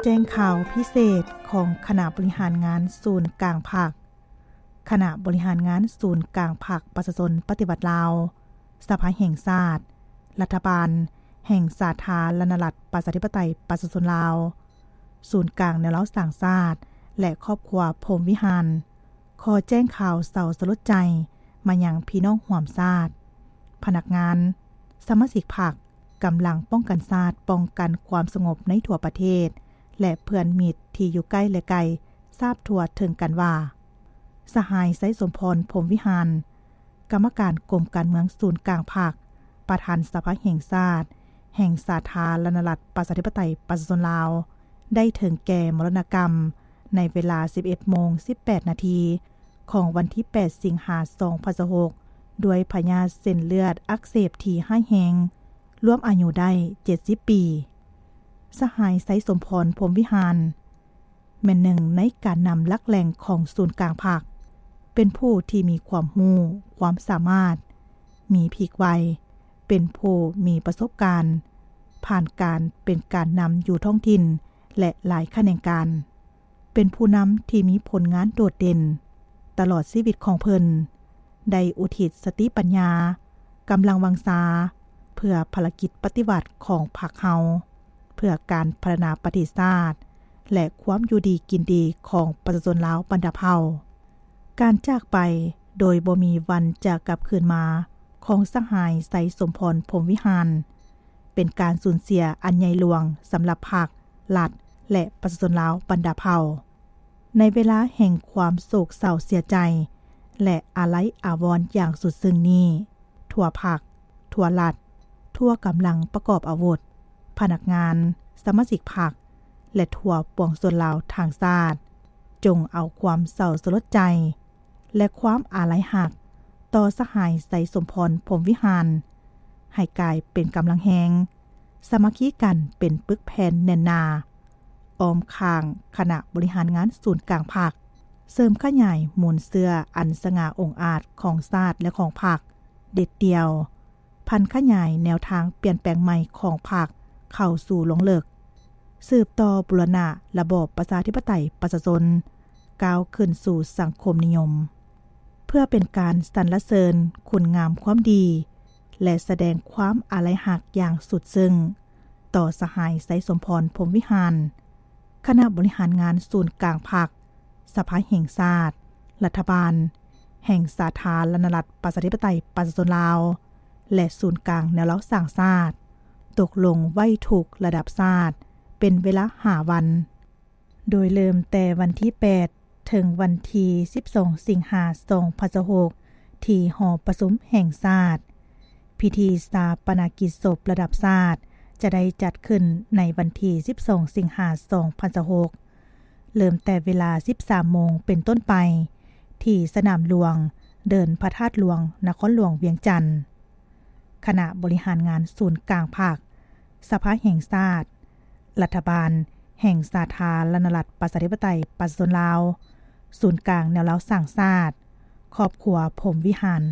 ແຈ້ງຂ່າວພິເສດຂອງຄະນະບໍລິຫານງານສູນກາງພັກ. ຄະນະບໍລິຫານງານສູນກາງພັກປະຊາຊົນປະຕິວັດລາວ, ສະພາແຫ່ງຊາດ, ລັດຖະບານແຫ່ງສາທາລະນະລັດປະຊາທິປະໄຕປະຊາຊົນລາວ, ສູນກາງແນວລາວສ້າງຊາດ ແລະ ຄອບຄົວພົມວິຫານ ຂໍແຈ້ງຂ່າວເສົ້າສະຫຼົດໃຈມາຍັງພີ່ນ້ອງຮ່ວມຊາດ, ພະນັກງານ, ສະມາຊິກພັກ, ກຳລັງປ້ອງກັນຊາດ, ປ້ອງກັນຄວາມສະຫງົບໃນທົ່ວປະເທດ ແລະ ເພື່ອນມິດທີ່ຢູ່ໃກ້ ແລະ ໄກ ຊາບທົ່ວເຖິງກັນວ່າ ສະຫາຍ ໄຊສົມພອນ ພົມວິຫານ ກຳມະການກົມການເມືອງສູນກາງພັກ, ປະທານສະພາແຫ່ງຊາດ ແຫ່ງສາທາລະນະລັດປະຊາທິປະໄຕປະຊາຊົນລາວ ໄດ້ເຖິງແກ່ມໍລະນະກຳໃນເວລາສິບເອັດໂມງສິບແປດນາທີ ຂອງວັນທີແປດ ສິງຫາ ສອງພັນຊາວຫົກ ດ້ວຍພະຍາດເສັ້ນເລືອດອັກເສບທີ່ຮ້າຍແຮງ, ລວມອາຍຸໄດ້ເຈັດສິບປີ. ສະຫາຍ ໄຊສົມພອນ ພົມວິຫານ ແມ່ນໜຶ່ງໃນການນຳຫຼັກແຫຼ່ງຂອງສູນກາງພັກ, ເປັນຜູ້ທີ່ມີຄວາມຮູ້, ຄວາມສາມາດ, ມີພິກໄວ, ເປັນຜູ້ມີປະສົບການ, ຜ່ານການເປັນການນຳຢູ່ທ້ອງຖິ່ນ ແລະ ຫຼາຍຂະແໜງການ, ເປັນຜູ້ນຳທີ່ມີຜົນງານໂດດເດັ່ນ. ຕະຫຼອດຊີວິດຂອງເພິ່ນ ໄດ້ອຸທິດສະຕິປັນຍາ, ກຳລັງວັງຊາ ເພື່ອພາລະກິດປະຕິວັດຂອງພັກເຮົາ, ເພື່ອການພັດທະນາປະເທດຊາດ ແລະ ຄວາມຢູ່ດີກິນດີຂອງປະຊາຊົນລາວບັນດາເຜົ່າ. ການຈາກໄປໂດຍບໍ່ມີວັນຈະກັບຄືນມາຂອງສະຫາຍ ໄຊສົມພອນ ພົມວິຫານ ເປັນການສູນເສຍອັນໃຫຍ່ຫຼວງສຳລັບພັກ, ລັດ ແລະ ປະຊາຊົນລາວບັນດາເຜົ່າ. ໃນເວລາແຫ່ງຄວາມໂສກເສົ້າເສຍໃຈ ແລະ ອາໄລອາວອນຢ່າງສຸດຊຶ້ງນີ້, ທົ່ວພັກ, ທົ່ວລັດ, ທົ່ວກຳລັງປະກອບອາວຸດ, ພະນັກງານ, ສະມາຊິກພັກ ແລະ ທົ່ວປວງຊົນລາວທັງຊາດ, ຈົ່ງເອົາຄວາມເສົ້າສະຫຼົດໃຈ ແລະ ຄວາມອາໄລຮັກຕໍ່ສະຫາຍ ໄຊສົມພອນ ພົມວິຫານ ໃຫ້ກາຍເປັນກຳລັງແຮງ, ສາມັກຄີກັນເປັນປຶກແຜ່ນແໜ້ນໜາ, ອ້ອມຂ້າງຄະນະບໍລິຫານງານສູນກາງພັກ, ເສີມຂະຫຍາຍມູນເຊື້ອອັນສະຫງ່າອົງອາດຂອງຊາດ ແລະ ຂອງພັກ, ເດັດດ່ຽວ, ຜັນຂະຫຍາຍແນວທາງປ່ຽນແປງໃໝ່ຂອງພັກເຂົ້າສູ່ລວງເລິກ, ສືບຕໍ່ບູລະນະລະບອບປະຊາທິປະໄຕປະຊາຊົນ ກ້າວຂຶ້ນສູ່ສັງຄົມນິຍົມ, ເພື່ອເປັນການສັນລະເສີນຄຸນງາມຄວາມດີ ແລະ ສະແດງຄວາມອາໄລຮັກຢ່າງສຸດຊຶ້ງຕໍ່ສະຫາຍ ໄຊສົມພອນ ພົມວິຫານ. ຄະນະບໍລິຫານງານສູນກາງພັກ, ສະພາແຫ່ງຊາດ, ລັດຖະບານແຫ່ງສາທາລະນະລັດປະຊາທິປະໄຕປະຊາຊົນລາວ ແລະ ສູນກາງແນວລາວສ້າງຊາດ ຕົກລົງໄຫວ້ທຸກລະດັບຊາດເປັນເວລາຫ້າວັນ, ໂດຍເລີ່ມແຕ່ວັນທີແປດ ເຖິງວັນທີສິບສອງ ສິງຫາ ສອງພັນຊາວຫົກ ທີ່ຫໍປະຊຸມແຫ່ງຊາດ. ພິທີຊາປະນະກິດສົບລະດັບຊາດຈະໄດ້ຈັດຂຶ້ນໃນວັນທີສິບສອງ ສິງຫາ ສອງພັນຊາວຫົກ ເລີ່ມແຕ່ເວລາສິບສາມໂມງເປັນຕົ້ນໄປ ທີ່ສະໜາມຫຼວງ ເດີ່ນພະທາດຫຼວງ ນະຄອນຫຼວງວຽງຈັນ. ຄະນະບໍລິຫານງານສູນກາງພັກ, ສະພາແຫ່ງຊາດ, ລັດຖະບານແຫ່ງສາທາລະນະລັດປະຊາທິປະໄຕປະຊາຊົນລາວ, ສູນກາງແນວລາວສ້າງຊາດ, ຄອບຄົວພົມວິຫານ.